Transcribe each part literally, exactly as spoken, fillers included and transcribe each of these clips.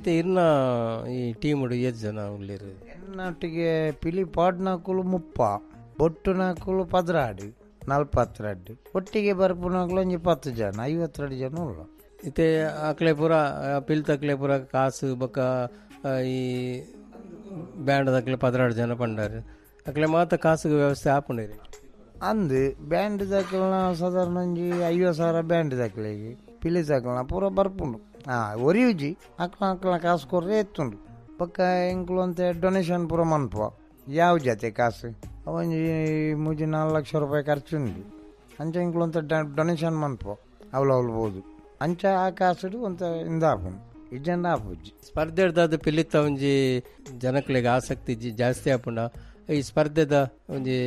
ಇತ್ತೆ ಇರ್ನ ಈ ಟೀಮ್ ಏತ್ ಜನ ಉಲ್ಲೆರ್? ಎನ್ನೊಟ್ಟಿಗೆ ಪಿಲಿ ಪಾಡ್ನಕುಲು ಮುಪ್ಪ, ಬೊಟ್ಟುನಕುಲು ಪದ್ರಾಡು, ನಲ್ಪತ್ತೆರಡು, ಒಟ್ಟಿಗೆ ಬರ್ಪುನಕುಲು ಒಂಜಿ ಪತ್ತು ಜನ, ಐವತ್ತೆರಡು ಜನ ಉಲ್ಲ. ಇತ್ತೆ ಅಕ್ಲೆ ಪೂರ ಪಿಲ್ತಕ್ಲೆ ಪೂರ ಕಾಸು ಬೊಕ್ಕ ಈ ಬ್ಯಾಂಡ್ ದಕ್ಲೆ ಪದ್ರಾಡು ಜನ ಪಂಡಾರು ಅಕ್ಲೆ ಮಾತ ಕಾಸುಗೆ ವ್ಯವಸ್ಥೆ ಆಪುಂಡೇರಿ. ಅಂದು ಬ್ಯಾಂಡ್ ದಕ್ಲೆನ ಸಾಧಾರಣ ಒಂಜಿ ಐವತ್ತು ಸಾವಿರ ಬ್ಯಾಂಡ್ ದಕ್ಲೆಗ್, ಪಿಲಿ ದಕ್ಲೆನ ಪೂರ ಬರ್ಪುಂಡು. ಹಾಂ ಒರಿಯುಜಿ ಅಕ್ಲ ಅಕ್ಲ ಕಾಸು ಕೊರ್ರೆ ಎತ್ತುಂಡು. ಬೊಕ್ಕ ಎಂಕುಲು ಅಂತ ಡೊನೇಷನ್ ಪೂರ ಮನ್ಪುವ ಯಾವ ಜಾತಿ ಕಾಸು ಒಂಜಿ ಮೂಜಿ ನಾಲ್ಕು ಲಕ್ಷ ರೂಪಾಯಿ ಖರ್ಚುಂಡು. ಅಂಚ ಎಂಕುಲು ಅಂತ ಡೊನೇಷನ್ ಮನ್ಪುವ ಅವ್ಲು ಅವ್ಲು ಬೋದು. ಅಂಚ ಆ ಕಾಸುಡು ಒಂತ ಇಂದ ಆಪುಂಡು, ಇಜ್ಜಂಡ ಆಪುಜಿ. ಸ್ಪರ್ಧೆಡ್ದಾದ ಪಿಲಿತ ಒಂಜಿ ಜನಕ್ಲೆಗ್ ಆಸಕ್ತಿ ಜಾಸ್ತಿ ಆಪುಂಡ ಈ ಸ್ಪರ್ಧೆದ ಒಂಜಿ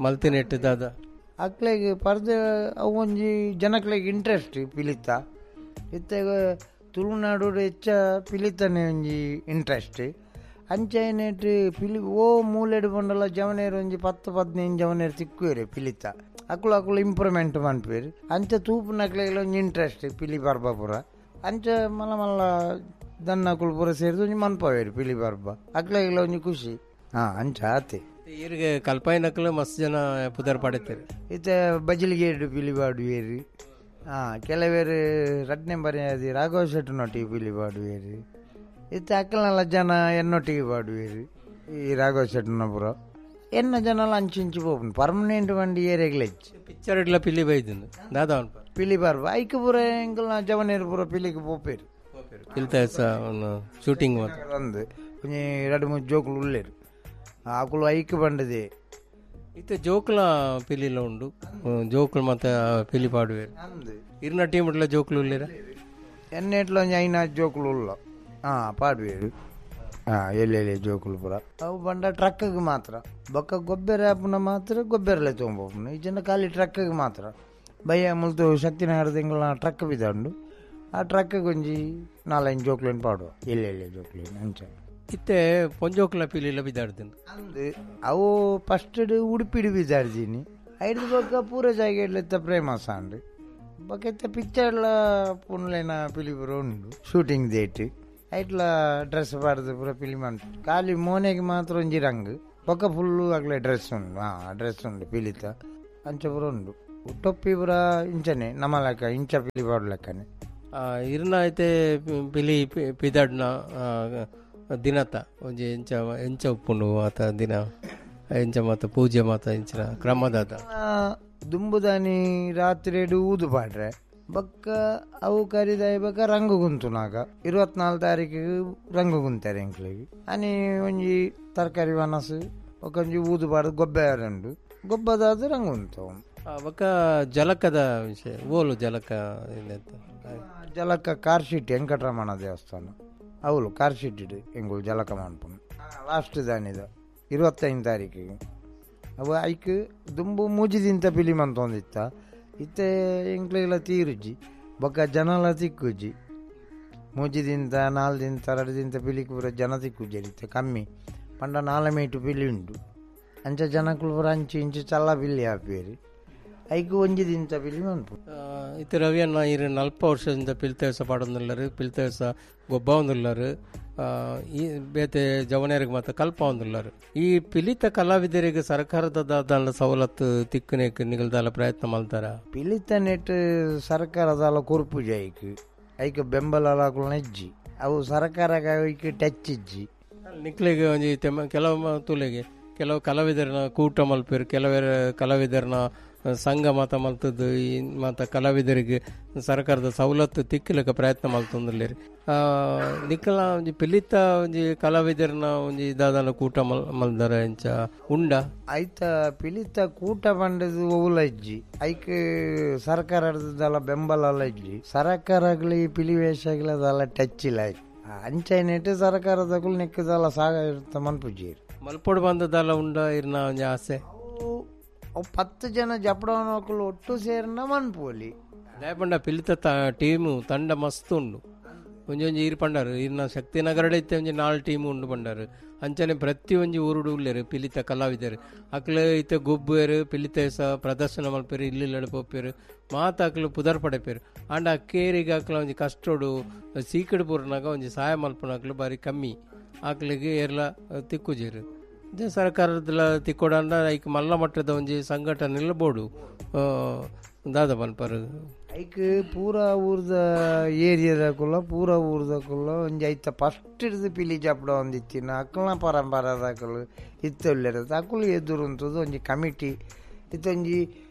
ಮಲ್ತಿನೆಟ್ಟದಾದ? ಅಕ್ಲೆಗ್ ಸ್ಪರ್ಧೆ ಅವು ಒಂಜಿ ಜನಕ್ಲೆಗ್ ಇಂಟ್ರೆಸ್ಟ್ ಪಿಲಿತ. ಇತ್ತೆ ತುಳುನಾಡು ಹೆಚ್ಚ ಪಿಲಿತನೇ ಒಂಜಿ ಇಂಟ್ರೆಸ್ಟ್. ಅಂಚೈನೆಟ್ ಪಿಲಿ ಓ ಮೂಲೆಡ್ ಪಂಡಲ ಜವನೇರು ಒಂಜಿ ಪತ್ತು ಪದಿನೈದು ಜವನೇರು ತಿಕ್ಕುವೇರು ಪಿಲಿತ. ಅಕುಲು ಅಕುಲು ಇಂಪ್ರೂವ್ಮೆಂಟ್ ಮನ್ಪುವೆರ್. ಅಂಚ ತೂಪುನಕ್ಲೆಗ್ಲ ಒಂಜಿ ಇಂಟ್ರೆಸ್ಟ್ ಪಿಲಿ ಪರ್ಬ ಪೂರ. ಅಂಚ ಮಲ್ಲ ಮಲ್ಲ ದನ್ನಕುಲು ಪೂರ ಸೇರಿದ್ ಒಂಜಿ ಮನ್ಪವೇರು ಪಿಲಿ ಪರ್ಬ, ಅಕ್ಲೆಗ್ಲ ಒಂಜಿ ಖುಷಿ. ಹಾಂ ಅಂಚ ಆತೆ. ಈರ್ಗೆ ಕಲ್ಪಾಯಿನಕ್ಲು ಮಸ್ತ್ ಜನ ಪುದರ್ ಪಡೆತೇರು. ಇತ್ತೆ ಬಜಿಲಿಗೇಡು ಪಿಲಿ ಪಾಡುವೇರು. ಹಾಂ ಕೆಲವೇರು ರಡ್ಡ್ ನಂಬರ್ ರಾಘವ ಶೆಟ್ಟನೊಟ್ಟಿಗೆ ಪಿಲಿ ಪಾಡುವೇರು. ಇತ್ತೆ ಅಕ್ಕಲ್ನೆಲ್ಲ ಜನ ಎನ್ನೊಟ್ಟಿಗೆ ಪಾಡುವೇರು ಈ ರಾಘವ ಶೆಟ್ಟನ ಪೂರ. ಎನ್ನ ಜನಲ ಅಂಚಿಂಚಿ ಪೋಪುಂಡು ಪರ್ಮನೆಂಟ್ ಬಂಡಿ ಏರೆಗ್ಲ ಹೆಚ್ಚು. ಪಿಕ್ಚರ್ ಇಡ್ಲ ಪಿಲಿ ಬೈದುಂಡು ದಾದ ಪಿಲಿ ಪರ್ಬ ಐಕ್ ಪೂರ ಎಂಕಲ್ನ ಜವನೇರು ಪೂರ ಪಿಲಿಗೆ ಪೋಪೇರು. ಪಿಲ್ತ ಶೂಟಿಂಗ್ ಅಂದು ಒಂಜಿ ಎರಡು ಮೂರು ಜೋಕುಲು ಉಲ್ಲೇರು ಅಕುಲು ಐಕ್ ಬಂಡದೆ. ಇತ್ತೆ ಜೋಕುಲ ಪಿಲಿಲ ಉಂಡು, ಜೋಕುಲು ಮತ್ತೆ ಪಿಲಿ ಪಾಡುವೇರು. ಇರ್ನ ಟೀಮ್ ಇಡ್ಲ ಜೋಕುಲು ಉಲ್ಲೇರ? ಎನ್ನೆಟ್ಲ ಒಂಜಿ ಐನ ಜೋಕುಲು ಉಲ್ಲ. ಹಾಂ ಪಾಡುವೇರು. ಹಾಂ ಎಲ್ಲೆಲ್ಲಿ ಜೋಕುಲು ಪೂರ ಅವು ಬಂಡ ಟ್ರಕ್ಕಿಗೆ ಮಾತ್ರ. ಬೊಕ್ಕ ಗೊಬ್ಬರ ಆಪುನ ಮಾತ್ರ ಗೊಬ್ಬರಲೆ ತೊಗೊಂಬೋಪುನ. ಈ ಜನ ಖಾಲಿ ಟ್ರಕ್ಕಿಗೆ ಮಾತ್ರ. ಬಯ್ಯ ಮುಲ್ತು ಶಕ್ತಿನಗರ ತಿಂಗಳ ಟ್ರಕ್ ಬಿದ್ದಂಡು ಆ ಟ್ರಕ್ಕಿಗೆ ಒಂಜಿ ನಾಲೈದು ಜೋಕ್ಲೇನು ಪಾಡುವ ಎಲ್ಲೆಲ್ಲಿ ಜೋಕ್ಲೇನು ಅಂಚ. ಇತ್ತೆ ಪೊಂಜೋಕ್ಲ ಪಿಲಿಲ ಬಿದ್ದಾಡ್ತೀನಿ ಅಂದು ಅವು ಫಸ್ಟ್ ಉಡುಪಿಡು ಬಿದ್ದಾಡ್ತೀನಿ. ಐದು ಬೊಕ್ಕ ಪೂರ ಜಾಗೆಡ್ಲೆತ್ತ ಪ್ರೇಮಸ ಅಂಡು. ಬೊಕ್ಕ ಇತ್ತೆ ಪಿಕ್ಚರ್ಲ ಪುನ್ಲೇನ ಪಿಲಿ ಪೂರ ಉಂಡು ಶೂಟಿಂಗ್ ಡೇಟ್. ಐಟ್ಲ ಡ್ರೆಸ್ ಪಾಡ್ದು ಪೂರ ಪಿಲಿ ಮಂತು. ಖಾಲಿ ಮೋನೆಗೆ ಮಾತ್ರ ಒಂಜಿ ರಂಗ್, ಬೊಕ್ಕ ಫುಲ್ಲು ಅಗ್ಲೆ ಡ್ರೆಸ್ ಉಂಡು. ಹಾಂ ಡ್ರೆಸ್ ಉಂಡು ಪಿಲಿತ ಅಂಚ ಪೂರ ಉಂಡು. ಟೊಪ್ಪಿ ಪೂರ ಇಂಚನೆ ನಮ್ಮ ಲೆಕ್ಕ ಇಂಚ ಪಿಲಿ ಪಾಡು ಲೆಕ್ಕನೆ. ಇರ್ನ ಐತೆ ಪಿಲಿ ಪಿದಾಡ್ನ ದಿನತ ಒಂಜಿ ಎಂಚ ಎಂಚ ಉಪ್ಪುಂಡು ಆತ ದಿನ ಎಂಚ ಮಾತ ಪೂಜೆ ಮಾತ ಇಂಚಿನ ಕ್ರಮದಾದ? ದುಂಬುದಾನಿ ರಾತ್ರಿ ಊದು ಪಾಡ್ರೆ ಬೊಕ್ಕ ಅವು ಕರಿದಾಯ ಬೊಕ್ಕ ರಂಗು ಗುಂತುನಾಗ ಇರುವತ್ನಾಲ್ಕು ತಾರೀಕಿಗೆ ರಂಗು ಗುಂತಾರೆ ಎಂಕ್ಲೆಗ್. ಅನಿ ಒಂಜಿ ತರಕಾರಿ ವನಸು ಬೊಕ್ಕ ಒಂಜಿ ಊದು ಪಾಡ್ದು ಗೊಬ್ಬರ ಉಂಡು, ಗೊಬ್ಬದಾದ ರಂಗು ಗುಂತವು. ಬೊಕ್ಕ ಜಲಕದ ವಿಷಯ ಓಲು ಜಲಕ? ಜಲಕ ಕಾರ್ಶೀಟ್ ವೆಂಕಟರಮಣ ದೇವಸ್ಥಾನ ಅವಳು ಕಾರ್ಶೀಟ್ ಎಂಗುಳು ಜಲಕ ಮನ್ಪುನು ಲಾಸ್ಟ್ ದಾನಿದ ಇರುವತ್ತೈದು ತಾರೀಕಿಗೆ. ಅವು ಐಕ್ ದುಂಬು ಮೂಜಿದಿಂತ ಪಿಲಿ ಮಂತೊಂದಿತ್ತ. ಇತ್ತೆ ಎಂಕ್ಲೆಗ್ಲ ತೀರುಜಿ ಬೊಕ್ಕ ಜನಲ ತಿಕ್ಕುಜಿ. ಮೂಜಿದಿಂತ ನಾಲ್ ದಿಂತ ಎರಡು ದಿಂತ ಪಿಲಿಕ್ ಪೂರ ಜನ ತಿಕ್ಕುಜಿ ಇತ್ತೆ ಕಮ್ಮಿ. ಪಂಡ ನಾಲ್ ಮೀಟು ಪಿಲಿ ಉಂಡು. ಅಂಚ ಜನಕುಲು ಪೂರ ಅಂಚಿ ಇಂಚಿ ಚಲ್ಲ ಪಿಲಿ ಆಪೇರು. ಐಕ್ ಒಂಜಿ ದಿಂತ ಪಿಲಿ ಮನ್ಪು. ಇತ್ತೆ ರವಿಯಣ್ಣ ಇರು ನಲ್ಪ ವರ್ಷದಿಂದ ಪಿಲ್ತೇವಸ ಪಾಡೊಂದುಲ್ಲರು, ಪಿಲ್ತೇವಸ ಗೊಬ್ಬ ಒಂದುಲ್ಲರು, ಈ ಬೇತೆ ಜವನೇರಿಗೆ ಮಾತ್ರ ಕಲ್ಪ ಒಂದುಲ್ಲರು. ಈ ಪಿಲಿತ ಕಲಾವಿದರಿಗೆ ಸರ್ಕಾರದ ದಾದ ಸವಲತ್ತು ತಿಕ್ಕುನೇಕ್ ನಿಗಲ್ದಾಲ ಪ್ರಯತ್ನ ಮಲ್ತಾರ? ಪಿಲಿತ ನೆಟ್ ಸರ್ಕಾರದಾಲ ಕೊರ್ಪುಜಿ ಐಕ್ ಐಕ್ ಬೆಂಬಲ ನೆಜ್ಜಿ ಅವು ಸರ್ಕಾರ ಐಕ್ ಟಚ್ ಇಜ್ಜಿ. ನಿಕ್ಲೆಗ್ ಒಂಜಿ ಕೆಲವು ತುಲೆಗೆ ಕೆಲವು ಕಲಾವಿದರನ್ನ ಕೂಟ ಮಲ್ಪೇರು, ಕೆಲವರು ಕಲಾವಿದರನ್ನ ಸಂಘ ಮಾತ ಮಲ್ತದ್ದು ಈ ಮಾತ ಕಲಾವಿದರಿಗೆ ಸರ್ಕಾರದ ಸವಲತ್ತು ತಿಕ್ಕಲಿಕ್ಕೆ ಪ್ರಯತ್ನ ಮಲ್ತೊಂದುಲ್ಲೆರ್. ನಿಕ್ಕಲ ಒಂಜಿ ಪಿಲಿತ ಒಂಜಿ ಕಲಾವಿದರನ್ನ ಒಂಜಿ ದಾದಾಲ ಕೂಟ ಮಲ್ ಮಲ್ದರ ಇಂಚ ಉಂಡ? ಐತ ಪಿಲಿತ ಕೂಟ ಪಂಡದು ಒವುಲ ಇಜ್ಜಿ. ಐಕ್ ಸರ್ಕಾರದಲ್ಲ ಬೆಂಬಲ ಇಜ್ಜಿ. ಸರ್ಕಾರಗಳು ಪಿಲಿ ವೇಷಗಳದಲ್ಲ ಟಚ್ ಇಲ್ಲ. ಅಂಚೈನೆಟ್ ಸರ್ಕಾರದಗಳು ನಿಕ್ಕದಲ್ಲ ಸಾಗ ಮನ್ಪುಜಿ. ಮಲ್ಪೊಡು ಬಂದದಲ್ಲ ಉಂಡ ಇರ್ನ ಒಂಜಿ ಆಸೆ? ಅವು ಪತ್ತು ಜನ ಜಪಡವನಕುಲು ಒಟ್ಟು ಸೇರಿನ ಮನ್ಪೋಲಿ. ದಾಯಪಂಡ ಪಿಲಿತ ಟೀಮು ತಂಡ ಮಸ್ತ್ ಉಂಡು. ಒಂಜೊಂಜಿ ಈರ್ ಪಂಡಾರು ಈರ್ನ ಶಕ್ತಿನಗರಡೆ ಇತ್ತೆ ಒಂಜಿ ನಾಲ್ ಟೀಮ್ ಉಂಡು ಪಂಡಾರು. ಅಂಚನೆ ಪ್ರತಿ ಒಂಜಿ ಊರುಡು ಉಲ್ಲೇರು ಪಿಲಿತ ಕಲಾವಿದರು. ಅಕ್ಲು ಇತ್ತೆ ಗೊಬ್ಬುವೆರು ಪಿಲಿತ ಸ ಪ್ರದರ್ಶನ ಮಲ್ಪೇರು ಇಲ್ಲಿಲ್ಲಡೆ ಪೋಪೇರು ಮಾತ ಅಕ್ಲು ಪುದರ್ ಪಡೆಪೇರು. ಆಂಡ ಕೇರಿಗೆ ಅಕ್ಲ ಒಂಜಿ ಕಷ್ಟೋಡು ಸೀಕಡ್ ಪೂರ್ನಾಗ ಒಂಜಿ ಸಹಾಯ ಮಲ್ಪುನಕ್ಲು ಬಾರಿ ಕಮ್ಮಿ ಆಕ್ಲಿಗೆ ಏರ್ಲ ತಿಕ್ಕುಜೇರು. ಸರ್ಕಾರದಲ್ಲ ತಿಕ್ಕೋಡಂಡ ಐಕ್ ಮಲ್ಲ ಮಟ್ಟದ ಒಂಜಿ ಸಂಘಟನೆ ಬೋಡು ದಾದ ಪನ್ಪರು. ಐಕ್ ಪೂರಾ ಊರ್ದ ಏರಿಯಾದಕುಲ್ಲ ಪೂರಾ ಊರ್ದಕುಲ್ಲ ಒಂಜಿ ಐತ ಫಸ್ಟ್ ಹಿಡ್ದು ಪಿಲಿ ಜಪಡ ಒಂದಿತ್ತಿನ ಅಕ್ಕಲ್ನ ಪರಂಪರದಕಲು ಇತ್ತೊಲ್ಲೆರ ಅಕುಲು ಎದುರುಂತದ್ದು ಒಂಜಿ ಕಮಿಟಿ ಇತ್ತೊಂಜಿ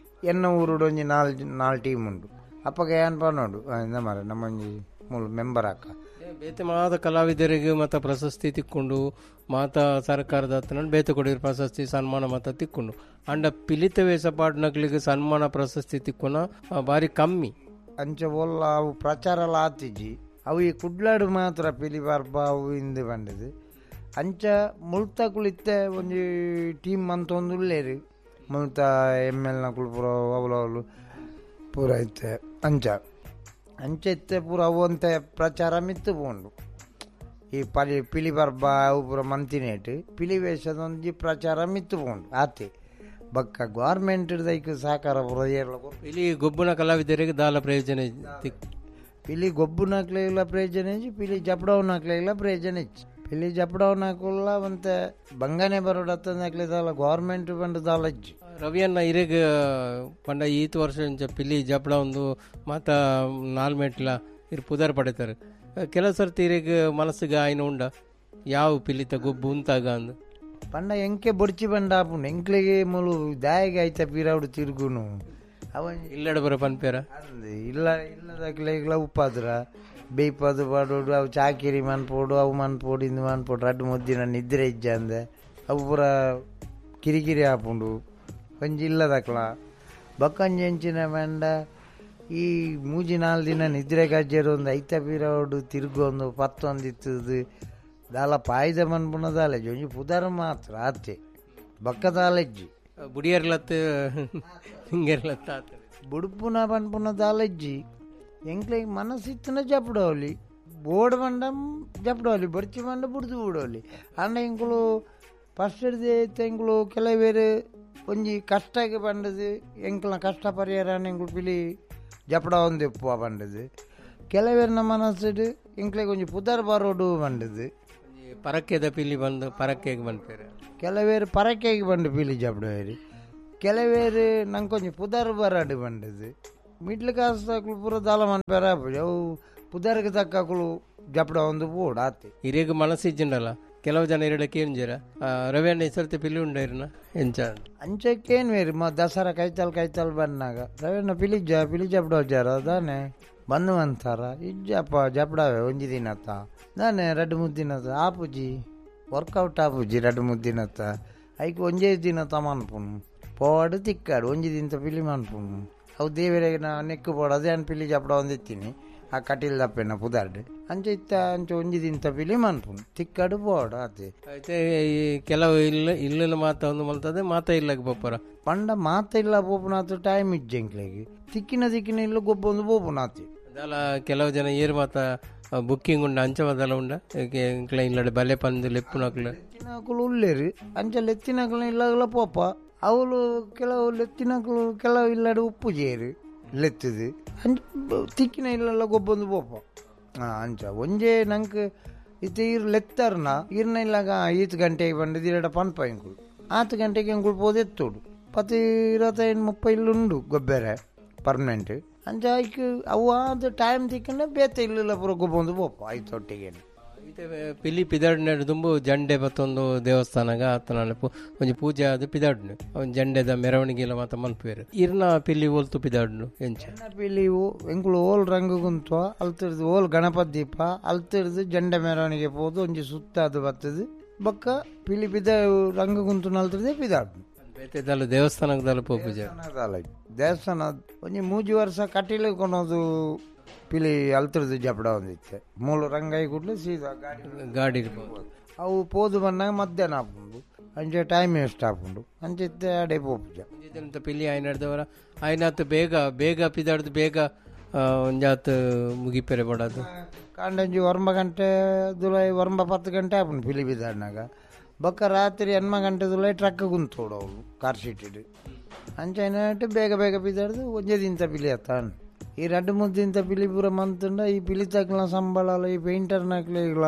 ಎನ್ನ ಊರುಡು ಒಂಜಿ ನಾಲ್ ನಾಲ್ ಟೀಮ್ ಉಂಡು. ಅಪ್ಪಗ ಏನ್ ಪನ್ನೋಡು ಎಂದ ಮಾರ ನಮ್ಮೊಂಜಿ ಮೂಲ ಮೆಂಬರ್ ಅಕ್ಕ ಬೇತೆ ಮಾತ ಕಲಾವಿದರಿಗೆ ಮತ್ತು ಪ್ರಶಸ್ತಿ ತಿಕ್ಕೊಂಡು ಮಾತಾ ಸರ್ಕಾರದ ಹತ್ರ ಬೇತೆ ಕೊಡಿರು ಪ್ರಶಸ್ತಿ ಸನ್ಮಾನ ಮಾತ ತಿಕ್ಕೊಂಡು. ಅಂಡ ಪಿಲಿತ ವೇಷ ಪಾಡ್ನಕ್ಲಿಗೆ ಸನ್ಮಾನ ಪ್ರಶಸ್ತಿ ತಿಕ್ಕೊನ ಬಾರಿ ಕಮ್ಮಿ. ಅಂಚ ಒಲ್ಲ ಅವು ಪ್ರಚಾರ ಎಲ್ಲ ಆತಿಜಿ ಅವು ಈ ಕುಡ್ಲಾಡು ಮಾತ್ರ ಪಿಲಿ ಪರ್ಬ ಅವು ಇಂದು ಬಂದದು. ಅಂಚ ಮುಲ್ತ ಕುಳಿತ್ತೆ ಒಂಜಿ ಟೀಮ್ ಅಂತ ಒಂದು ಉಳ್ಳೇರು ಮುಲ್ತ ಎಮ್ ಎಲ್ ನಕುಲು ಪೂರ ಅವಲವಲು ಪೂರ ಇತ್ತೆ ಅಂಚ ಅಂಚ ಇತ್ತೆ ಪೂರ ಅವು ಅಂತ ಪ್ರಚಾರ ಮಿತ್ತು ಪೋಂಡು. ಈ ಪಲಿ ಪಿಲಿ ಪರ್ಬ ಅವು ಪೂರ ಮಂತಿನೇಟು ಪಿಲಿ ವೇಷದ ಒಂಜಿ ಪ್ರಚಾರ ಮಿತ್ತು ಪೋಂಡು ಆತೆ. ಬಕ್ಕ ಗೌರ್ಮೆಂಟ್ ದೈಕ್ ಸಹಕಾರ ಪೂರ ಏರ್ಲ ಪಿಲಿ ಗೊಬ್ಬುನ ಕಲಾವಿದರಿಗೆ ದಾಲ ಪ್ರಯೋಜನ ಪಿಲಿ ಗೊಬ್ಬುನಕ್ಲೆಲ್ಲ ಪ್ರಯೋಜನ ಇಜ್ಜಿ ಪಿಲಿ ಜಪಡವನಕ್ಲೆಲ್ಲ ಪ್ರಯೋಜನ ಇಜ್ಜಿ. ಪಿಲಿ ಜಪಡವನಕುಲ್ಲ ಒಂತೆ ಬಂಗನೆ ಬರೋಡತ್ತನಕ್ಲೆ ದಾಲ ಗೌರ್ಮೆಂಟ್ ಬಂದು ದಾಲ ಇಜ್ಜಿ. ರವಿಯನ್ನ ಇರೆಗ್ ಪಂಡ ಈತ್ ವರ್ಷ ಪಿಲಿ ಜಪಡ ಒಂದು ಮಾತ ನಾಲ್ ಮೆಟ್ಲ ಇರ್ ಪುದರ್ ಪಡೆತಾರೆ. ಕೆಲವು ಸರ್ತಿ ಇರೆಗ್ ಮನಸ್ಸಿಗೆ ಆಯ್ನ ಉಂಡ ಯಾವ ಪಿಲಿತ ಗೊಬ್ಬು ಉಂತಾಗ ಅಂದು ಪಂಡ ಎಂಕೆ ಬೊಡ್ಚಿ ಬಂಡ ಆಪುಂಡು ಎಂಕ್ಲೆಗೆ ಮುಲು ದಾಯಿಗೆ ಐತ ಪೀರಾవుಡು ತಿರುಗುನು ಅವ ಇಲ್ಲಡ ಬರ ಪನ್ಪೇರ ಇಲ್ಲ ಇಲ್ಲದಕ್ಲೆಗ್ಲ ಉಪ್ಪಾದ್ರ ಬೇಯ್ಪದು ಪಾಡೋಡು ಅವು ಚಾಕಿರಿ ಮನ್ಪೋಡು ಅವು ಮನ್ಪೋಡು ಇಂದು ಮನ್ಪೋಡು ರಡ್ಡು ಮುದ್ದಿನ ನಿದ್ರೆ ಇಜ್ಜ ಅಂದೆ ಅವು ಪೂರ ಕಿರಿಕಿರಿ ಆಪುಂಡು ಒಂಜಿ ಇಲ್ಲದಕ್ಲ ಬಕ್ಕಂಜಿ ಎಂಚಿನ ಬಂಡ ಈ ಮೂಜಿ ನಾಲ್ ದಿನ ನಿದ್ರೆ ಕಜ್ಜೇರು ಒಂದು ಐತ ಪೀರಾವುಡು ತಿರುಗೊಂದು ಪತ್ತೊಂದು ಇತ್ತದು ದಾಲ ಪಾಯ್ದ ಮನ್ಪುನ ದಾಲೆಜ್ಜಿ ಒಂಜಿ ಪುದರ್ ಮಾತ್ರ ಆತೆ ಬಕ್ಕ ದಾಲೆಜ್ಜಿ ಬುಡಿಯರ್ಲತ್ತು ಹಿಂಗೆರ್ಲತ್ತ ಬುಡುಪುನ ಪನ್ಪುನ ದಾಲೆಜ್ಜಿ ಎಂಕ್ಲೆಗ್ ಮನಸ್ಸಿತ್ತನ ಜಪಡೋಲಿ ಬೋರ್ಡ್ ಬಂಡ ಜಪಡೋಲಿ ಬೊರ್ಚಿ ಬಂಡ ಬುಡ್ದು ಬಿಡೋಲಿ. ಅಂಡ ಎಂಕುಲು ಫಸ್ಟ್ ಹಿಡ್ದು ಎಂಕುಲು ಕೆಲವೇರು ಒಂಜಿ ಕಷ್ಟಕ್ಕೆ ಬಂಡದು ಎಂಕ್ಲ ಕಷ್ಟ ಪರಿಹಾರ ಎಂಕುಲು ಪಿಲಿ ಜಪಡ ಒಂದು ಎಪ್ಪುವ ಬಂಡದು. ಕೆಲವೇರ್ನ ಮನಸ್ಸಿಡು ಎಂಕ್ಲೆಗ್ ಒಂಜಿ ಪುದರ್ ಬರೋಡು ಬಂಡದು ಪರಕ್ಕೆದ ಪಿಲಿ ಬಂದು ಪರಕ್ಕೆಗೆ ಬಂದ್ಪೇರು. ಕೆಲವೇರು ಪರಕ್ಕೆಗೆ ಬಂದು ಪಿಲಿ ಜಪಡವೇರು ಕೆಲವೇರು ನಂಗೆ ಒಂಜಿ ಪುದರ್ ಬರಾಡು ಬಂಡದು. ಮಿಡ್ಲ್ ಕಾಸು ತಕ್ಕಲು ಪೂರ ದಾಲ ಮನ್ಪೇರ ಅವು ಪುದರ್ಗೆ ತಕ್ಕಲು ಜಪಡ ಒಂದು ಬೋಡು ಆತೆ. ಹಿರಿಯಗ ಮನಸ್ಸು ಇಜ್ಜಿಂಡಲ್ಲ ಕೆಲವು ಜನ ಎರಡಕ್ಕೆ ಏನ್ಜೀರ ರವಿ ಅಣ್ಣ ಈ ಸರ್ತಿ ಪಿಲಿ ಉಂಡೈರ್ನ ಎಂಚ ಅಂಚಕ್ಕೇನು ಬೇರೆ ಮ ದಸರಾ ಕೈತಾಲ್ ಕೈತಾಲ್ ಬಂದಾಗ ರವಿಯಣ್ಣ ಪಿಲಿ ಜ ಪಿಲಿ ಜಪಡ ಜಾರ ದಾನೆ ಬಂದು ಅಂತಾರ ಇಜ್ಜಪ್ಪ ಜಪಡಾವೆ ಒಂಜಿ ದಿನತ್ತ ದಾನೆ ರಡ್ಡು ಮುದ್ದಿನತ್ತ ಆಪುಜಿ ವರ್ಕೌಟ್ ಆಪುಜಿ ರಡ್ಡು ಮುದ್ದಿನತ್ತ ಐಕ್ ಒಂಜೇ ದಿನ ತಮನ್ಪುನು ಪೋವಾಡು ತಿಕ್ಕಾಡು ಒಂಜಿ ದಿನ ಪಿಲಿ ಮನ್ಪುನು ಅವು ದೇವರಿಗೆ ನಾ ನೆಕ್ಕು ಪೋಡು ಅದೇ ಅನ್ ಪಿಲಿ ಜಪಡ ಒಂದಿತ್ತೀನಿ ಆ ಕಟೀಲ್ ದಪ್ಪೆನ ಪುದಾರ್ಡು ಅಂಚ ಇತ್ತ ಅಂಚ ಒಂಜಿ ದಿನ ಪಿಲಿ ಮನ್ಪುನು ತಿಕ್ಕಾಡು ಪೋವಾಡು ಆತೆ. అయితే ಈ ಕೆಲವು ಇಲ್ಲ ಇಲ್ಲನ ಮಾತ ಒಂದು ಮಲ್ತದೆ ಮಾತ ಇಲ್ಲಕ್ಕೆ ಪೋಪರ ಪಂಡ ಮಾತ ಇಲ್ಲ ಪೋಪುನಾತು ಟೈಮ್ ಇಜ್ಜೆ ಎಂಕ್ಲೆಗ್ ತಿಕ್ಕಿನ ತಿಕ್ಕಿನ ಇಲ್ಲ ಗೊಬ್ಬೊಂದು ಪೋಪುನಾತಿ. ಅದಲ್ಲ ಕೆಲವು ಜನ ಏರು ಮಾತ ಬುಕ್ಕಿಂಗ್ ಉಂಡ ಅಂಚ ಮದಲ ಉಂಡ ಎಂಕ್ಲ ಇಲ್ಲಡೆ ಬಲೆ ಪಂದು ಲೆಪ್ಪುನಕ್ಲು ಲೆತ್ತಿನಕುಲು ಉಲ್ಲೇರು ಅಂಚ ಲೆತ್ತಿನಕ್ಲು ಇಲ್ಲಗಲ ಪೋಪ ಅವಳು ಕೆಲವು ಲೆತ್ತಿನಕ್ಲು ಕೆಲವು ಇಲ್ಲಡೆ ಉಪ್ಪು ಜೇರು ಲೆತ್ತದು ಅಂಚ ತಿಕ್ಕಿನ ಇಲ್ಲೆಲ್ಲ ಗೊಬ್ಬೊಂದು ಪೋಪ. ಹಾಂ ಅಂಚ ಒಂಜೇ ನಂಗೆ ಇತ್ತೆ ಈರು ಲೆತ್ತಾರನ ಈರ್ನ ಇಲ್ಲಾಗ ಈತ್ ಗಂಟೆಗೆ ಬಂದದ್ದು ಎರಡ ಪನ್ಪ ಎಂಕುಲು ಆತು ಗಂಟೆಗೆ ಎಂಕುಲು ಪೋದೆತ್ತೋಡು ಪತ್ತು ಇರವತ್ತೈದು ಮುಪ್ಪ ಇಲ್ಲುಂಡು ಗೊಬ್ಬೆರೆ ಪರ್ಮನೆಂಟ್ ಅಂಚ ಐಕ್ ಅವು ಆದ ಟೈಮ್ ತಿಕ್ಕಂಡ ಬೇತೆ ಇಲ್ಲ ಪೂರ ಗೊಬ್ಬೊಂದು ಪೋಪ ಐತೊಟ್ಟಿಗೆ. ಇತ್ತೆ ಪಿಲಿ ಪಿದಾಡ್ನ ದುಂಬು ಜಂಡೆ ಬತ್ತೊಂದು ದೇವಸ್ಥಾನಗ ಆತನ ಒಂಜಿ ಪೂಜೆ ಆದ್ ಪಿದಾಡ್ನು ಒಂಜಿ ಜಂಡೆದ ಮೆರವಣಿಗೆ ಎಲ್ಲ ಮಾತ ಮಲ್ಪುವೆರು. ಇರ್ನ ಪಿಲಿ ಓಲ್ತು ಪಿದಾಡ್ನು ಎಂಚ ಪಿಲಿ ಎಂಕುಲು ಓಲ್ ರಂಗು ಗುಂತ್ವ ಅಲ್ತಿರ್ದು ಓಲ್ ಗಣಪತಿ ದೀಪ ಅಲ್ತಿರ್ದು ಜಂಡೆ ಮೆರವಣಿಗೆ ಪೋದು ಒಂಜಿ ಸುತ್ತ ಅದು ಬತ್ತದು ಬೊಕ್ಕ ಪಿಲಿ ಪಿದ ರಂಗು ಗುಂತು ನಲ್ತಿರ್ದೆ ಪಿದಾಡ್ನು. ಬೇತೆ ದಾಲ ದೇವಸ್ಥಾನಕ್ಕೆ ದಾಲ ಪೋಪುಜ ದೇವಸ್ಥಾನ ಒಂಜಿ ಮೂಜಿ ವರ್ಷ ಕಟೀಲು ಕೊನೋದು ಪಿಲಿ ಅಲ್ತಿರ್ದು ಜಪಡ ಒಂದಿತ್ತೆ ಮೂಲು ರಂಗಾಯಿ ಕೂಡಲೇ ಸೀದಾ ಗಾಡಿ ಗಾಡಿ ಅವು ಪೋದು ಬಂದಾಗ ಮಧ್ಯಾಹ್ನ ಆಪುಂಡು ಅಂಚೆ ಟೈಮ್ ವೇಸ್ಟ್ ಆಪುಂಡು ಅಂಚೆ ಅಡೆ ಪೋಪುಜ. ಪಿಲಿ ಆಯ್ನಡ್ದವರ ಆಯ್ನಾತ್ ಬೇಗ ಬೇಗ ಪಿದಾಡ್ದು ಬೇಗ ಒಂಜಾತ್ ಮುಗಿಪೆರೆ ಬಡದು ಕಾಂಡಂಜಿ ಒಂಬ ಗಂಟೆ ದುಲೈ ಒಂಬ ಪತ್ತು ಗಂಟೆ ಆಪುಂಡು ಪಿಲಿ ಬಿದಾಡಿನಾಗ. ಬೊಕ್ಕ ರಾತ್ರಿ ಎನ್ಮ ಗಂಟೆ ದುಲೈ ಟ್ರಕ್ ಗುಂತೋಡು ಅವು ಕಾರ್ ಶೀಟಿಡು. ಅಂಚ ಬೇಗ ಬೇಗ ಬಿದಾಡ್ದು ಒಂಜೇ ದಿನ ಪಿಲಿ ಅತ್ತಾನು. ಈ ರಡ್ಡು ಮೂರು ದಿನ ಪಿಲಿ ಪೂರ ಮಂತುಂಡ ಈ ಪಿಲಿ ತಕ್ಲ ಸಂಬಳ ಈ ಪೇಂಟರ್ನಕ್ಲೆಗ್ಲ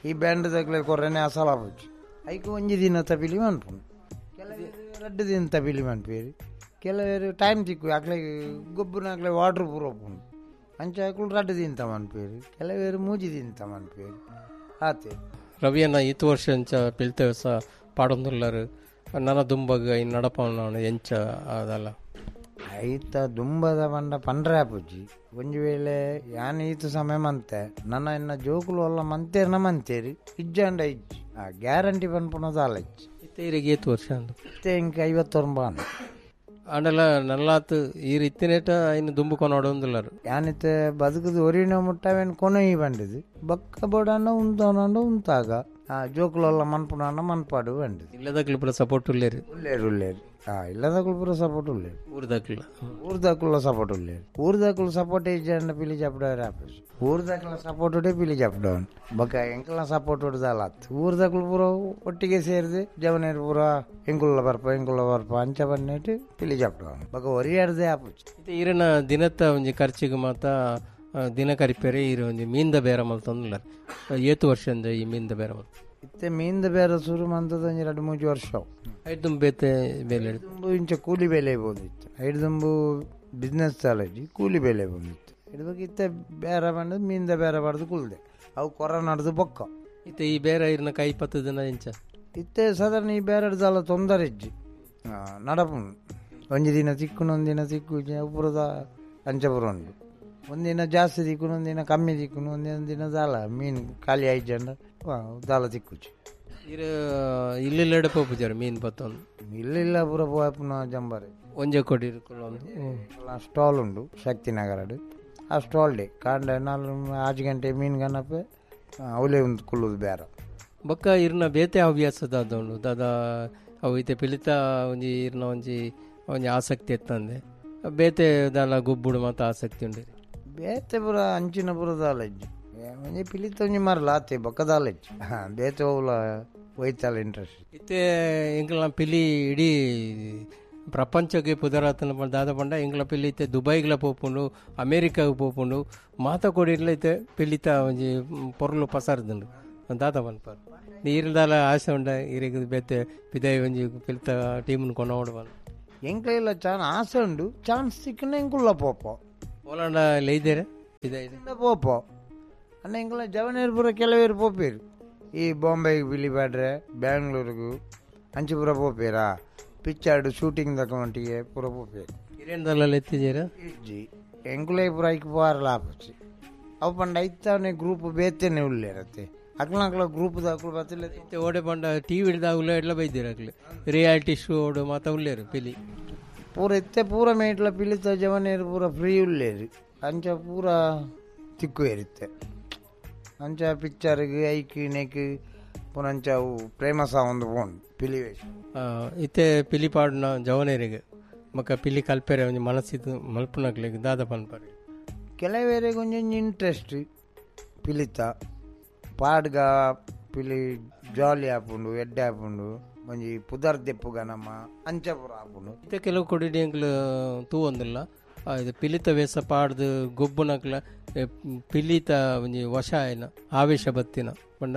ಈ ಬ್ಯಾಂಡ್ ತಕ್ಲೆ ಕೊರನೆ ಅಸಲ ಆಪುಜಿ. ಐಕ್ ಒಂಜಿ ದಿನ ಪಿಲಿ ಮನ್ಪುಂಡು, ಕೆಲವರು ರಡ್ಡು ದಿನ ಪಿಲಿ ಮನ್ಪೇರಿ, ಕೆಲವರು ಟೈಮ್ ತಿಕ್ಕು ಅಕ್ಲೆ ಗೊಬ್ಬರನಾಕ್ಲೆ ವಾಟ್ರ್ ಪೂರ ಉಪ್ಪುಂಡು ಅಂಚ ಅಕ್ಲು ರಡ್ಡು ದಿನ ಮನ್ಪೇರಿ, ಕೆಲವರು ಮೂಜಿ ದಿನ ಮನ್ಪೇರಿ ಆತೆ. ರವಿಯನ್ನ ಈತು ವರ್ಷ ಎಂಚ ಪಿಲ್ತೆ ಸಹ ಪಾಡೊಂದುಲ್ಲರು ನನ್ನ ದುಂಬಗ್ ನಡಪವನ ಎಂಚ ಅದಲ್ಲ ಐತ ದುಂಬದ ಪಂಡ ಪಂಡ್ರೆ ಆಪುಜಿ. ಒಂಜಿ ವೇಳೆ ಯಾನ್ ಈತ ಸಮಯ ಮಂತೆ ನನ್ನ ಇನ್ನ ಜೋಕುಲು ಅಲ್ಲ ಮಂತೇರ್ನ ಮಂತೇರಿ ಇಜ್ಜಾಂಡ ಇಜ್ಜಿ ಆ ಗ್ಯಾರಂಟಿ ಪನ್ಪುನದ ಅಲ್ಲ ಇಜ್ಜಿ. ಇತ್ತೆ ಈರೆಗ್ ಏತ್ ವರ್ಷ ಅಂದು? ಇತ್ತೆ ಇಂಕ ಐವತ್ತೊಂಬ ಆಂಡಲ ನಲ್ಲಾತ್ ಈರ್ ಇತ್ತಿನೇಟ ಇನ್ನು ದುಂಬು ಕೊನೋಡೊಂದುಲ್ಲರು. ಯಾನಿತ್ತೆ ಬದುಕುದು ಒರಿನ ಮುಟ್ಟವೇನು ಕೊನೊಯಿ ಬಂಡಿದು ಬಕ್ಕ ಬೋಡಾಂಡ ಉಂತವನಂಡ ಉಂತಾಗ ಆ ಜೋಕುಲಲ್ಲ ಮನ್ಪುನಾಂಡ ಮನ್ಪಾಡು ಬಂಡಿದು. ಇಲ್ಲದಕ್ಲು ಪೂರ ಸಪೋರ್ಟ್ ಉಲ್ಲೇರು? ಉಲ್ಲೇರು ಉಲ್ಲೇರು. ಆ ಇಲ್ಲದಕ್ಲು ಪೂರ ಸಪೋರ್ಟ್ ಉಲ್ಲೇರು. ಊರ್ದಕ್ಲ ಊರ್ದಕ್ಲ ಸಪೋರ್ಟ್ ಉಲ್ಲೇರು. ಊರ್ದಕ್ಲು ಸಪೋರ್ಟ್ ಇಜ್ಜಾಂಡ ಪಿಲಿ ಜಪಡವರೆ ಆಪುಜಿ. ಊರ್ದಕ್ಲ ಸಪೋರ್ಟ್ ಉಡೆ ಪಿಲಿ ಜಪಡವನ್ ಬೊಕ್ಕ ಎಂಕಲ್ನ ಸಪೋರ್ಟ್ ಉಡ್ದಲ್ಲ ಊರ್ದಕ್ಲು ಪೂರ ಒಟ್ಟಿಗೆ ಸೇರಿದು ಜವನೇರು ಪೂರ ಎಂಕುಲ್ಲ ಬರ್ಪ ಎಂಕುಲ್ಲ ಬರ್ಪ ಅಂಚ ಬನ್ನಿಟ್ಟು ಪಿಲಿ ಜಪಡವನ್ ಬೊಕ್ಕ ಒರಿಯಾರ್ದೇ ಆಪುಜಿ. ಈರನ ದಿನತ್ತ ಒಂಜಿ ಖರ್ಚಿಗೆ ಮಾತ ದಿನ ಕರಿಪೇರೆ ಈರು ಒಂಜಿ ಮೀನ್ದ ಬೇರ ಮಲ್ತೊಂದುಲ್ಲಾರ್. ಏತು ವರ್ಷ ಅಂದ ಈ ಮೀನ್ದ ಬೇರ ಮಲ್ತ? ಇತ್ತೆ ಮೀನ್ದ ಬೇರ ಶುರು ಮಂತದ ಒಂಜಿ ರಡ್ಡು ಮೂಜಿ ವರ್ಷ. ಐದು ಬೇತೆ ಬೇಲೆ ದುಂಬು ಇಂಚ ಕೂಲಿ ಬೆಲೆ ಬಂದಿತ್ತು. ಐದು ದುಂಬು ಬಿಸ್ನೆಸ್ ಚಾಲಜಿ ಕೂಲಿ ಬೆಲೆ ಬಂದಿತ್ತು. ಇಡ್ಬೇಕು ಇತ್ತೆ ಬೇರೆ ಬಂದು ಮೀನ್ದ ಬೇರೆ ಬಡ್ದು ಕುಲ್ದೆ ಅವು ಕೊರೋನಾಡ್ದು ಬೊಕ್ಕ. ಇತ್ತೆ ಈ ಬೇರೆ ಇರ್ನ ಕೈ ಪತ್ತು ದಿನ ಇಂಚ ಇತ್ತೆ ಸಾಧಾರಣ ಈ ಬೇರೆ ತೊಂದರೆ ಇಜ್ಜಿ ನಡಪುಂಡು. ಒಂಜಿ ದಿನ ತಿಕ್ಕುನು ಒಂದಿನ ತಿಕ್ಕು ಪುರದ ಅಂಚಪುರ ಉಂಡು. ಒಂದಿನ ಜಾಸ್ತಿ ತಿಕ್ಕುನು ಒಂದಿನ ಕಮ್ಮಿ ತಿಕ್ಕುನು ಒಂದಿನ ದಿನ ದಾಲ ಮೀನು ಖಾಲಿ ಆಯ್ಜಂಡ ದಾಲ ತಿಕ್ಕುಜಿ. ಇರು ಇಲ್ಲೆಡೆ ಪೋಪುಜಾರು ಮೀನು ಪತ್ತೊಂದು? ಇಲ್ಲಿಲ್ಲ ಪೂರ ಪೋಪುನ ಜಂಬಾರೆ ಒಂಜೆ ಕೊಡಿ ಸ್ಟಾಲ್ ಉಂಡು ಶಕ್ತಿನಗರಡು. ಆ ಸ್ಟಾಲ್ ಡೇ ಕಾಂಡ ನಾಲ್ ಆಜು ಗಂಟೆ ಮೀನು ಗಣಪೆ ಅವಲೇ ಒಂದು ಕುಲ್ಲುದು ಬೇರೆ. ಬೊಕ್ಕ ಇರ್ನ ಬೇತೆ ಹವ್ಯಾಸ ದಾದ ಉಂಡು ದಾದಾ ಅವು ಇತ್ತೆ ಪಿಲಿತ ಒಂಜಿ ಇರ್ನ ಒಂಜಿ ಒಂಜಿ ಆಸಕ್ತಿ ಎತ್ತಂದೆ ಬೇತೆ ದಾಲ ಗೊಬ್ಬುಡು ಮಾತ ಆಸಕ್ತಿ ಉಂಡು? ಬೇತೆ ಪೂರ ಅಂಚಿನ ಪೂರ ದಾಲ ಇಜ್ಜಿ. ಒಂಜಿ ಪಿಲಿತ ಒಂಜಿ ಮರಲ ಆತೆ ಬೊಕ್ಕ ದಾಲ ಇಜ್ಜಿ. ಹಾಂ ಬೇತೆ ಹೋಗ್ಲ ಒಯ್ತಲ್ಲ ಇಂಟ್ರೆಸ್ಟ್. ಇತ್ತೆ ಎಂಕಲ್ನ ಪಿಲಿ ಇಡೀ ಪ್ರಪಂಚಕ್ಕೆ ಪುದರಾತನ ದಾದ ಪಂಡ ಎಂಕಲ ಪಿಲಿ ಇತ್ತೆ ದುಬೈಗ್ಲ ಪೋಪುಂಡು, ಅಮೇರಿಕಾಗ್ ಪೋಪುಂಡು, ಮಾತ ಕೊಡಿರ್ಲ ಇತ್ತೆ ಪಿಲಿತ ಒಂಜಿ ಪೊರ್ಲು ಪಸಾರ್ದುಂಡು ದಾದ ಪನ್ಪಾರ್. ನೀರ್ದಾಲ ಆಸೆ ಉಂಡ ಇರೆಗ್ ಬೇತೆ ಪಿದಾಯಿ ಒಂಜಿ ಪಿಲಿತ ಟೀಮ್ನು ಕೊನೋಡು ಪಂಡ? ಎಂಕಲ ಚಾನ್ ಆಸೆ ಉಂಡು, ಚಾನ್ಸ್ ಸಿಕ್ಕನ ಎಂಕುಲ್ಲ ಪೋಪೋ ಓಲಾಂಡ ಲೈದೇರೆ ಪಿದಾಯಿ ಪೋಪೋ ಅಣ್ಣ. ಎಂಕಲ ಜವನೇರು ಪೂರ ಕೆಲವೇರು ಪೋಪೇರು ಈ ಬಾಂಬೆಗೆ ಪಿಲಿ ಪಾಡ್ರೆ ಬ್ಯಾಂಗ್ಳೂರಿಗೂ ಅಂಚಿಪುರ ಪೋಪೇರಾ ಪಿಕ್ಚರ್ಡು ಶೂಟಿಂಗ್ ತಕೊಂಟಿಗೆ ಪೂರ ಪೋಪೇರು. ಇರೇನ್ದಲ್ಲ ಎತ್ತಿಜೇರ? ಇಜ್ಜಿ ಎಂಕುಲೇ ಪೂರ ಐಕ್ ಪೋರಲ ಆಪುಜಿ. ಅವು ಪಂಡ ಐತಾನೆ ಗ್ರೂಪ್ ಬೇತೇನೆ ಉಲ್ಲೇರತ್ತೆ ಅಕ್ಲ ಗ್ರೂಪ್ ದಾಕುಲು ಬತ್ತಿಲ್ಲ. ಇತ್ತೆ ಓಡೆ ಪಂಡ ಟಿ ವಿ ದಾಗುಲ ಎಡ್ಲ ಬೈದಿರ ಅಕ್ಲೆ ರಿಯಾಲಿಟಿ ಶೋ ಓಡು ಮಾತ ಉಲ್ಲೇರು ಪಿಲಿ ಪೂರ ಇತ್ತೆ ಪೂರ ಮೇಟ್ಲ ಪಿಲಿತ ಜವನೇರು ಪೂರ ಫ್ರೀ ಉಲ್ಲೇರು ಅಂಚ ಪೂರ ತಿಕ್ಕು ಏರಿತ್ತೆ ಅಂಚ ಪಿಕ್ಚರ್ಗೆ ಐಕ್ ನೆಕ್ ಪುನಂಚ ಅವು ಪ್ರೇಮ ಒಂದು ಫೋನ್ ಪಿಲಿ ವೇಷ. ಇತ್ತೆ ಪಿಲಿ ಪಾಡುನ ಜವನೇರಿಗೆ ಮಕ್ಕ ಪಿಲಿ ಕಲ್ಪೆರೆ ಒಂಜಿ ಮನಸ್ಸಿದ್ದು ಮಲ್ಪುನಕ್ಲೆಗ್ ದಾದ ಪನ್ಪಾರೆ? ಕೆಲವೇರಿಗೆ ಒಂಜೊಂಜಿ ಇಂಟ್ರೆಸ್ಟ್ ಪಿಲಿತ ಪಾಡ್ಗ ಪಿಲಿ ಜಾಲಿ ಆಪುಂಡು ಎಡ್ಡೆ ಆಪುಂಡು ಒಂಜಿ ಪುದರ್ ದೆಪ್ಪುಗ ನಮ್ಮ ಅಂಚ ಪೂರ ಆಪುಂಡು. ಇತ್ತೆ ಕೆಲವು ಕೊಡಿ ಎಂಕ್ಲು ತೂವೊಂದುಲ್ಲ ಇದು ಪಿಲಿತ ವೇಷ ಪಾಡ್ದು ಗೊಬ್ಬುನಕ್ಲ ಪಿಲಿತ ಒಂಜಿ ವಶ ಆಯ್ನ ಆವೇಶ ಬತ್ತಿನ ಪಂಡ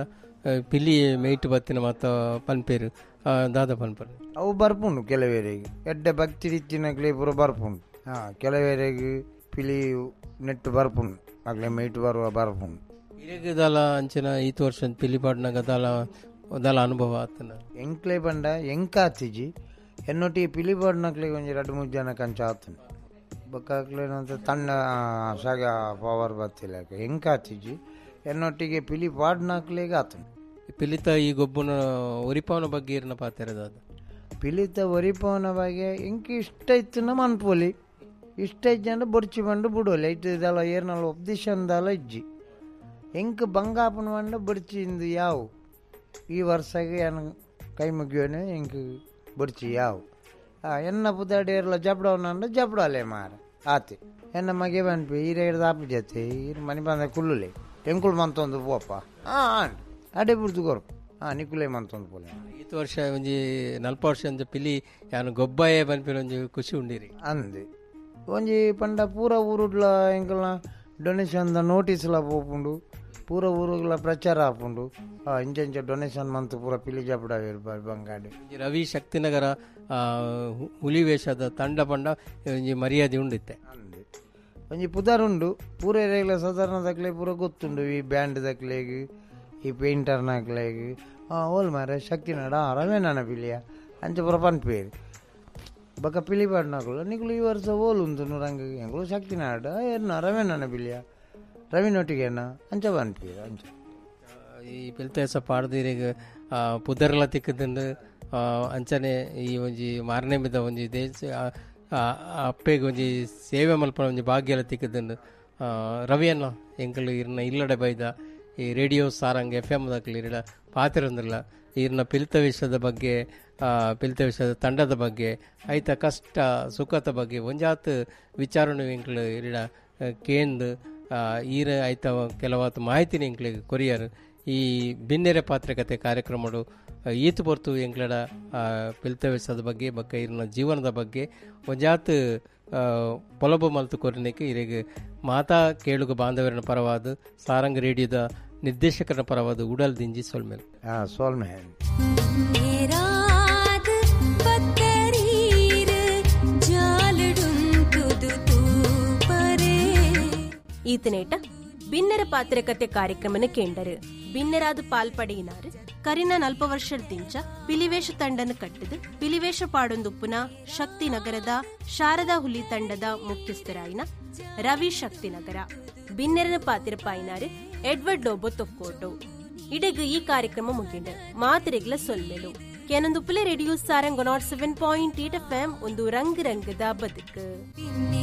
ಪಿಲಿ ಮೇಯ್ಟ್ ಬತ್ತಿನ ಮಾತ ಪನ್ಪೇರು ದಾದ ಪನ್ಪರು? ಅವು ಬರ್ಪುಂಡು ಕೆಲವೇರಿಗೆ ಎಡ್ಡೆ ಭಕ್ತಿ ಇತ್ತಿನಕ್ಲೆ ಪೂರ ಬರ್ಪುಂಡು. ಹಾಂ ಕೆಲವೇರಿಗೆ ಪಿಲಿ ನೆಟ್ಟು ಬರ್ಪುಂಡು ಅಕ್ಲೆ ಮೇಯ್ಟ್ ಬರುವ ಬರ್ಪುಂಡು. ಇರೆಗ್ ದಾಲ ಅಂಚಿನ ಈತ್ ವರ್ಷ ಪಿಲಿ ಪಾಡ್ನಾಗ ದಾಲ ದಾಲ ಅನುಭವ ಆತನ? ಎಂಕ್ಲೆ ಪಂಡ ಎಂಕಾತಿಜಿ ಎನ್ನೊಟ್ಟಿಗೆ ಪಿಲಿ ಪಾಡ್ನಕ್ಲೆ ಒಂಜಿ ರಡ್ಡು ಮೂರು ಜನಕ್ಕೆ ಅಂಚ ಆತನ ಬೊಕ್ಕ ತಣ್ಣ ಸಗ ಪವರ್ ಬತ್ತಿಲ್ಲ ಎಂಕಾತಿಜಿ ಎನ್ನೊಟ್ಟಿಗೆ ಪಿಲಿ ಪಾಡ್ನಕ್ಲೆಗ್ ಆತನ. ಪಿಲಿತ ಈ ಗೊಬ್ಬನ ಒರಿಪವನ ಬಗ್ಗೆ ಇರ್ನ ಪಾತೆರದ? ಪಿಲಿತ ಒರಿಪವನ ಬಗ್ಗೆ ಎಂಕ್ ಇಷ್ಟ ಇತ್ತು ಮನ್ಪೊಲಿ ಇಷ್ಟ ಇಜ್ಜಂಡ ಬೊರ್ಚಿ ಬಂಡು ಬುಡೋಲಿ ಐಟ್ ದಾಲ ಏರ್ನಲ ಒಪ್ದಿಶನ್ ದಾಲ ಇಜ್ಜಿ ಎಂಕ್ ಬಂಗಾಪನ ಬಂಡ ಬೊರ್ಚಿ ಇಂದು ಯಾವು ಈ ವರ್ಷಗೆ ಎನ್ ಕೈ ಮುಗಿಯೋನೆ ಎಂಕ್ ಬೊರ್ಚಿ ಯಾವು ಎನ್ನ ಪುದಾಡಿ ಏರ್ಲ ಜಬ್ಡವನಂಡ ಜಬ್ಡಾಲೆ ಮಾರ ಆತೆ ಎನ್ನ ಮಗೆ ಪನ್ಪಿ ಈರೆ ದಾಪು ಜತೆ ಈರ್ ಮನಿ ಬಂದ ಕುಲ್ಲುಲೆ ಎಂಕುಲು ಮಂತೊಂದು ಪೋಪ ಆ ಆಂಡ್ ಅಡೆ ಬುಡ್ದು ಕೊರ್ಪು ಹಾಂ ನಿಕುಲೆ ಮಂತೊಂದು ಪೋಲೆ. ಈತ ವರ್ಷ ಒಂಜಿ ನಲ್ಪ ವರ್ಷ ಒಂಜಿ ಪಿಲಿ ಯಾನು ಗೊಬ್ಬಾಯೇ ಪನ್ಪಿನ ಒಂಜಿ ಖುಷಿ ಉಂಡಿರಿ. ಅಂದ್ ಒಂಜಿ ಪಂಡ ಪೂರ ಊರುಡ್ಲ ಎಂಕಲ್ನ ಡೊನೇಷನ್ ದ ನೋಟಿಸ್ಲ ಪೋಪುಂಡು, ಪೂರ ಊರುಗಳ ಪ್ರಚಾರ ಆಪುಂಡು. ಇಂಚ ಇಂಚ ಡೊನೇಷನ್ ಮಂತ್ ಪೂರ ಪಿಲಿ ಜಪಡಾವೇರು ಬಂಗಾಡಿ. ಒಂಜಿ ರವಿ ಶಕ್ತಿನಗರ ಹುಲಿ ವೇಷದ ತಂಡ ಪಂಡ ಒಂಜಿ ಮರ್ಯಾದೆ ಉಂಡಿತ್ತೆ. ಅಂದ್ ಒಂಜಿ ಪುದರ್ ಉಂಡು ಪೂರ ಏರಿಯಾಗ್ಲ ಸಾಧಾರಣ ದಕ್ಲೆ ಪೂರ ಗೊತ್ತುಂಡು ಈ ಬ್ಯಾಂಡ್ ದಕ್ಲೆಗ್ ಈ ಪೇಂಟರ್ನಕ್ಲೆಗ್. ಹಾಂ ಓಲ್ ಮಾರೆ ಶಕ್ತಿನಾಡ ರವೇನನ ಪಿಲಿಯ ಅಂಚ ಪೂರ ಪನ್ಪೇರು. ಬೊಕ ಪಿಲಿ ಪಾಡ್ನಕುಲು ನಿಕುಲು ಈ ವರ್ಷ ಓಲು ಉಂತು ರಂಗ ಎಂಕುಲು ಶಕ್ತಿನಾಡ ಏರ್ನ ರವೇನನ ಪಿಲಿಯ ರವಿನೊಟ್ಟಿಗೆನ ಅಂಚ ಪನ್ಪೇರು ಅಂಚ. ಈ ಪಿಲ್ತೇಸ ಪಾಡ್ದೀರೆಗ್ ಪುದರ್ಲ ತಿಕ್ಕುದುಂಡು. ಅಂಚನೆ ಈ ಒಂಜಿ ಮಾರನೆಮಿದ ಒಂಜಿ ದೇಶ ಅಪ್ಪೆಗ್ ಒಂಜಿ ಸೇವೆ ಮಲ್ಪನ ಒಂಜಿ ಭಾಗ್ಯಲ ತಿಕ್ಕುದುಂಡು. ರವಿಯನ್ನ ಎಂಕುಲು ಇರ್ನ ಇಲ್ಲಡೆ ಬೈದ ಈ ರೇಡಿಯೋ ಸಾರಂಗ್ ಎಫ್ ಎಮ್ ದಕ್ಲು ಇರಡ ಪಾತಿರಂದಿಲ್ಲ ಇರ್ನ ಪಿಲಿತ ವಿಷಯದ ಬಗ್ಗೆ, ಪಿಲಿತ ವಿಷಯದ ತಂಡದ ಬಗ್ಗೆ, ಐತ ಕಷ್ಟ ಸುಖದ ಬಗ್ಗೆ ಒಂಜಾತ್ ವಿಚಾರಣೆ ಎಂಕುಲು ಇರಡ ಕೇಂದ್ ಈರ ಐತ ಕೆಲವಾತ್ ಮಾಹಿತಿನ ಎಂಕ್ಲೆಗ್ ಕೊರಿಯರ್. ಈ ಬಿನ್ನೆರೆ ಪಾತ್ರಕತೆ ಕಾರ್ಯಕ್ರಮಡು ಈತು ಪೊರ್ತು ಎಂಕ್ಲಡ ಪಿಲಿತ ವಿಷಯದ ಬಗ್ಗೆ ಬೊಕ್ಕ ಇರ್ನ ಜೀವನದ ಬಗ್ಗೆ ಒಂಜಾತ್ ಪೊಲಬು ಮಲ್ತು ಕೊರಿನೆಕ್ ಇರೆಗ್ ಮಾತಾ ಕೇಳುಗ ಬಾಂಧವರನ ಪರವಾದ ಸಾರಂಗ್ ರೇಡಿಯೋದ ನಿರ್ದೇಶಕರ ಪರವಾದ ಉಡಲ್ ದಿಂಜಿ ಸೊಲ್ಮೇಲ್. ಹಾಂ ಸೊಲ್ಮೆ. ಈತನೇಟ ಬಿನ್ನರ ಪಾತ್ರಕತೆ ಕಾರ್ಯಕ್ರಮನ ಕೇಂಡರು ಬಿನ್ನರಾದ ಪಾಲ್ಪಡೆಯಿನಾರು ಕರಿನ ನಲ್ಪ ವರ್ಷದ ದಿಂಚ ಪಿಲಿವೇಶ ತಂಡನ ಕಟ್ಟದು ಪಿಲಿವೇಶ ಪಾಡೊಂದುಪ್ಪುನ ಶಕ್ತಿನಗರದ ಶಾರದಾ ಹುಲಿ ತಂಡದ ಮುಖ್ಯಸ್ಥರಾಯಿನ ರವಿ ಶಕ್ತಿನಗರ, ಬಿನ್ನೆರನ ಪಾತಿರಪಾಯಿನಾರು ಎಡ್ವರ್ಡ್ ಲೋಬೋ ತೊಕ್ಕೋಟು. ಇಡಗು ಈ ಕಾರ್ಯಕ್ರಮ ಮುಗಿಂಡು ಮಾತಿರೆಗ್ಲ ಸೊಲ್ಮೆಲು. ಕೆನೊಂದುಪ್ಪುಲೆ radio Sarang nought seven point eight F M ಒಂದು ರಂಗ್ ರಂಗದ ಬದುಕು.